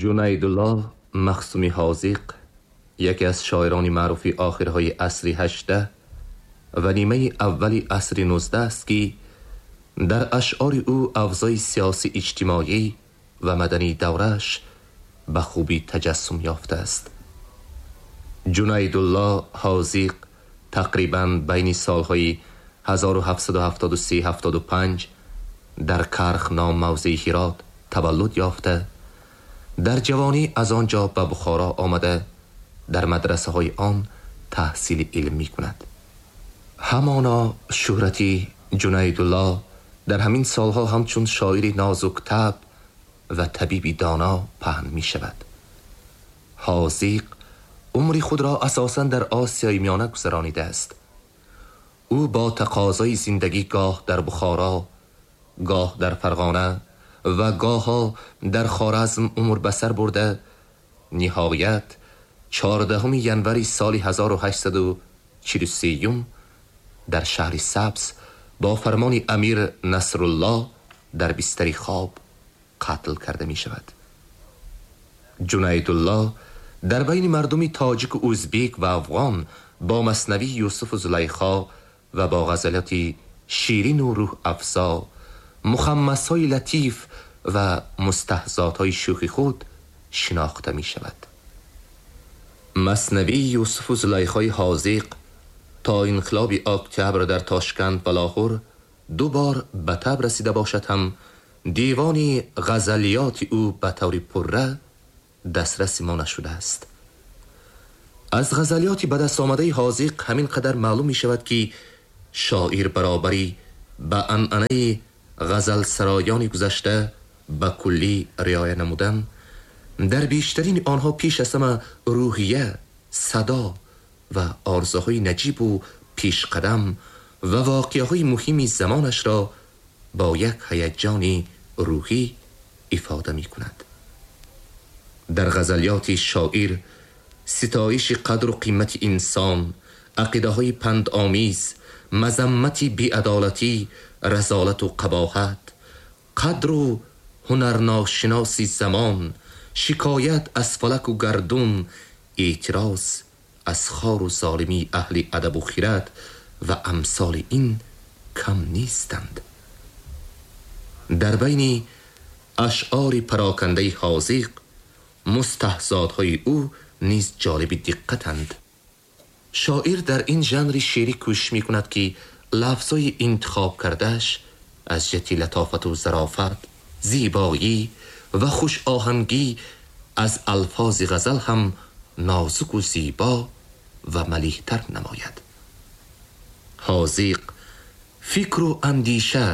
Ҷунайдуллоҳ Махсуми Ҳозиқ яке аз шоирони маъруфи охирҳои асри 18 ва нимаи аввали асри 19 аст, ки дар ашъори ӯ авзои сиёсӣ, иҷтимоӣ ва мадании даврааш ба хубӣ таҷассум ёфтааст. Ҷунайдуллоҳ Ҳозиқ тақрибан байни солҳои 1773-75 дар Карх ном мавзеи Ҳирот таваллуд ёфта, дар ҷавонӣ аз он ҷо ба Бухоро омада, дар мадрасаҳои он таҳсили илм мекунад. Ҳамоно шӯҳрати Ҷунайдуллоҳ дар ҳамин солҳо ҳамчун шоири нозуктаб ва табиби доно паҳн мешавад. Ҳозиқ умри худро асосан дар Осиёи Миёна гузаронидааст. Ӯ бо тақозои зиндагӣ гоҳ дар Бухоро, гоҳ дар Фарғона ва гоҳо дар Хоразм умр ба сар бурда, ниҳоят 14 январи соли 1843 дар шаҳри Сабз бо фармони Амир Насруллоҳ дар бистари хоб қатл карда мешавад. Ҷунайдуллоҳ дар байни мардуми тоҷик, ӯзбек ва афғон бо маснавии Юсуфу Зулайхо ва бо ғазалоти ширину рӯҳафзо, мухаммасҳои латиф ва мустаҳзотҳои шӯхи худ шинохта мешавад. Маснавии Юсуфу Зулайхои Ҳозиқ то инқилоби октябр дар Тошканд ва Лоҳур ду бор ба таб расида бошад ҳам, девони ғазалиёти ӯ ба таври пурра дастраси мо нашудааст. Аз ғазалиёти ба даст омадаи Ҳозиқ ҳамин қадар маълум мешавад, ки шоир баробарӣ ба анъанаи ғазалсароёни гузашта ба куллӣ риоя намудан, дар бештарини онҳо пеш аз ҳама рӯҳия, садо ва орзуҳои наҷибу пешқадам ва воқеаҳои муҳими замонашро бо як ҳаяҷони рӯҳӣ ифода мекунад. Дар ғазалиёти шоир ситоиши қадру қимати инсон, ақидаҳои пандомез, мазаммати беадолатӣ, разолату қабоҳат, қадру ҳунарношиноси замон, шикоят аз фалаку гардун, эътироз аз хору золимии аҳли адабу хират ва амсоли ин кам нестанд. Дар байни ашъори парокандаи Ҳозиқ мустаҳзотҳои ӯ низ ҷолиби диққатанд. Шоир дар ин жанри шеърӣ кӯшиш мекунад, ки лафзҳои интихоб кардааш аз ҷиҳати латофату зарофат, зебоӣ ва хушоҳангӣ аз алфози ғазал ҳам нозуку зебо ва малиҳтар намояд. Ҳозиқ фикру андеша,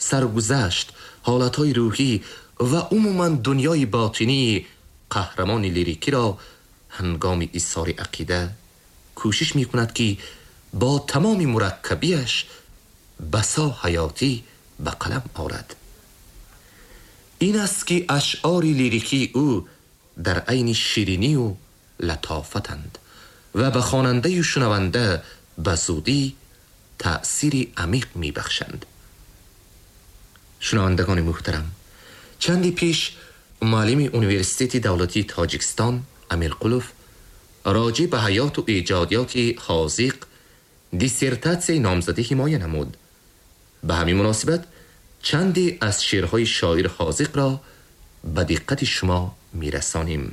саргузашт, ҳолатҳои рӯҳӣ ва умуман дунёи ботинии қаҳрамони лирикиро ҳангоми изҳори ақида кӯшиш мекунад, ки бо тамоми мураккабиаш басо ҳаётӣ ба қалам орад. Ин аст, ки ашъори лирикии ӯ дар айни ширинию латофатанд ва ба хонандаю шунаванда ба зудӣ таъсири амиқ мебахшанд. Шунавандагони муҳтарам, чанде пеш муаллими Университети давлатии Тоҷикистон Амирқулов роҷеъ ба ҳаёту эҷодиёти Ҳозиқ диссертатсияи номзадӣ ҳимоя намуд. Ба ҳамин муносибат чанде аз шеърҳои шоир Ҳозиқро ба диққати шумо мерасонем.